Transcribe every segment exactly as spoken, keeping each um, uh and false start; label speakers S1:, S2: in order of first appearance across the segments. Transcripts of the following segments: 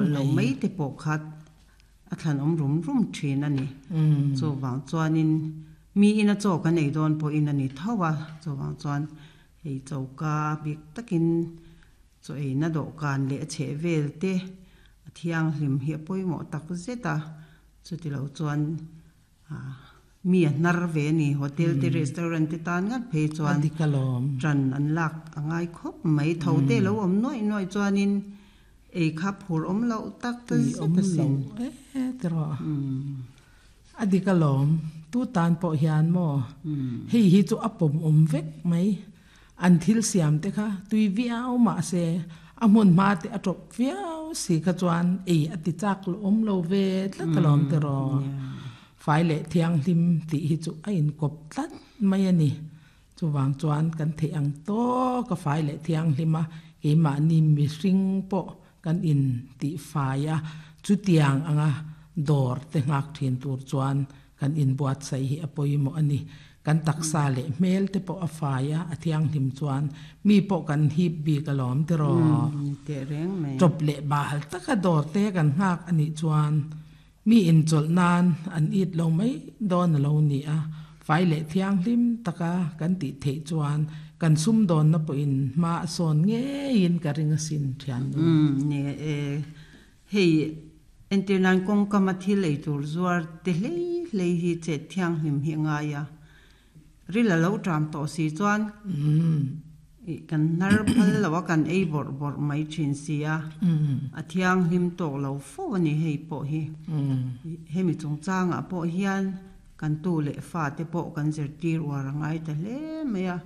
S1: Chawlh lo
S2: mai.
S1: Mai te pawh kha a thlan awm rum rum thin a ni. Chuvang chuanin mi ina chaw kan ei dawn pawhin a ni tho a, chuvang chuan hei choka bik takin chaw eina dawhkan leh a chheh vel te a thianghlim hi a pawimawh tak zet a, chutilo chuan mi a hnar ve a ni. Hotel te restaurant te tan ngat phei
S2: A
S1: chuan
S2: dik alawm.
S1: Ṭan an lak a ngai khawp mai. Tho te lo awm nuaih nuaih chuanin ei kha phur awm loh tak
S2: Tui
S1: zet
S2: awm
S1: a
S2: lo
S1: sin.
S2: E tiraw. A dik alawm. Tu tan pawh hian maw hei hi chu a pawm awm vek mai. An thil siam te kha tui viau mah se a hmun hma te a tawp viau si kha chuan ei a ti chak lo awm lo ve tlat alawm tiraw. Fai leh thianghlim tih hi chu a inkawp tlat mai a ni. Chuvang chuan kan theih ang tawk a fai leh thianghlim a keimahni mihring pawh kan in tih fai a chutiang anga dawr te nghak thin tur chuan kan inbuatsaih hi a pawimawh a ni. Kan taksa leh hmel te pawh a fai a a thianghlim chuan mi pawh kan hip bik alawm tiraw.
S1: Teh reng mai.
S2: Tawp leh bal taka dawr te kan nghak a nih chuan mi inchawlh nan an it lo mai dawn a lo ni a, fai leh thianghlim taka kan tih theih chuan kan sumdawnna pawhin hma a sawn ngeiin ka ring asin thiannu.
S1: Ni e, hei entir nan kawngkam a thil ei tur zuar te hlei hlei hi chet thianghlim hi a ngai a, ril a lo ṭam tawh si chuan kan hnar phal lo a kan ei bawrh bawrh mai thin si a, a thianghlim tawk lo fo a ni hei pawh hi. Hemi chungchangah pawh hian kan tu leh fa te pawh kan zirtir uar a ngai ta hle mai a,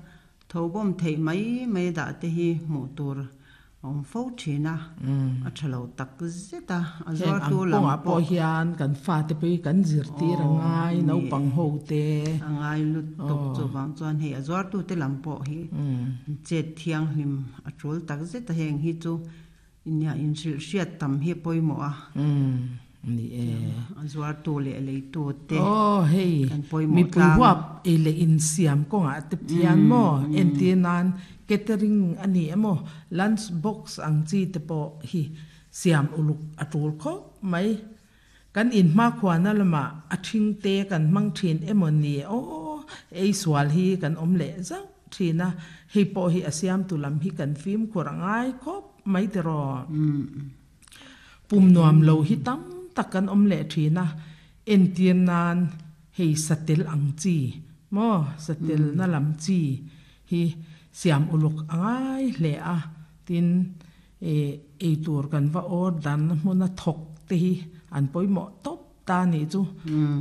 S1: tho bawm theih mai mai dah te hi hmuh tur a awm fo thin a, a tha lo tak zet a, a
S2: Heng ang
S1: zuartu lam
S2: kawngah pawh
S1: pawh
S2: hian kan fate pawh hi kan zirtir a ngai naupang ho te.
S1: A ngai lutuk chuvang chuan hei a zuartu te lam pawh hi chet thianghlim a tul tak zet a heng hi chu inia inhrilh hriat tam hi a pawimawh a.
S2: Ni e.
S1: A zuartu leh leitu te
S2: Oh hei
S1: kan pawimawh
S2: mipui
S1: tlang.
S2: Huap ei leh insiam kawngah te thian maw entir nan catering a ni emaw lunch box ang chi te pawh hi siam uluk a tul khawp mai. Kan in hma khuana lamah a thing te kan hmang thin emaw ni aw ei sual hi kan awm leh zauh thin a, hei pawh hi a siam tu lam hi kan fimkhur a ngai khawp mai tiraw. Pum nuam lo hi tam tak kan awm leh thin a, entir nan hei satel ang chi maw satel na lam chi hi siam uluk a ngai hle a, tin e ei tur kan va order na hmuna thawk te hi an pawimawh tawp ta nih chu.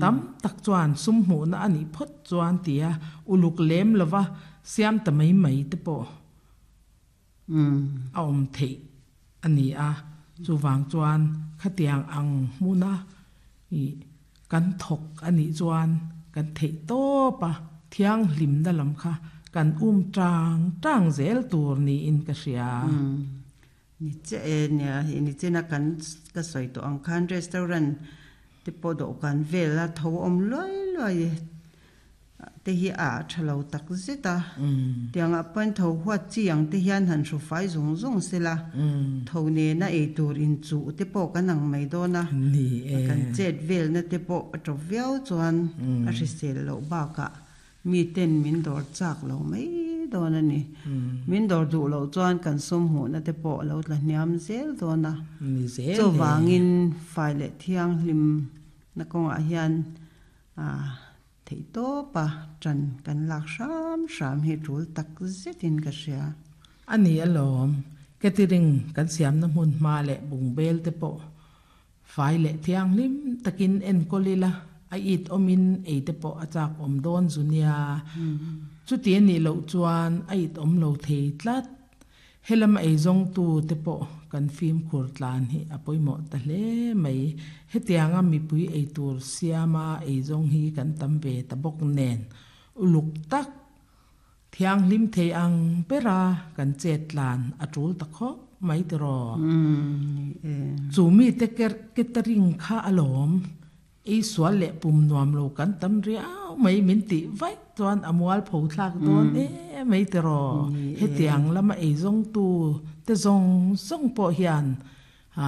S2: Tam tak chuan sum hmuhna a nih phawt chuan tia uluk lem lova siam ta mai mai te pawh a awm theih a ni a, chuvang chuan khatiang ang hmuna ih kan thawk a nih chuan kan theih tawp a thianghlimna lam kha kan um tang tang zel tur niin ka hria.
S1: Ni che e nia hei ni chena kan ka sawi tawh ang khan restaurant te pawh dawhkan vel a tho awm luai luai te hi a tha lo tak zet a, tiangah pawhin tho huat chi ang te hian han hru fai zung zung sela, tho nena ei tur inchuh te pawh kan ang mai dawn a,
S2: Ni e.
S1: Kan chet velna te pawh a tawp viau chuan a hrisel loh bakah mi ten min dawr chak lo mai dawn a ni. Min dawr duh loh chuan kan sum hmuhna te pawh a lo tla hniam zel dawn a.
S2: Ni zel e.
S1: Chuvangin fai leh thianghlim na kawngah hian a theih tawp a ṭan kan lak hram hram hi tul tak zetin ka hria.
S2: A ni alawm. Catering kan siamna hmun hma leh bungbel te pawh fai leh thianghlim takin enkawl ila a it awmin ei te pawh a chak awm dawn zu nia. Chuti a nih loh chuan a it awm lo thei tlat. Helam ei zawngtu te pawh kan fimkhur tlan hi a pawimawh ta hle mai. Hetianga mipui ei tur siama ei zawng hi kan tam ve ta bawk nen. Uluk tak thianghlim thei ang bera kan chet tlan a tul ta khawp mai tiraw.
S1: Ni e.
S2: Chu mi te catering kha alawm ei sual leh pum nuam lo kan tam riau mai min tih vaih chuan a mual pho thlak dawn e mai tiraw.
S1: Ni e.
S2: Hetiang lama ei zawngtu te zawng zawng pawh hian a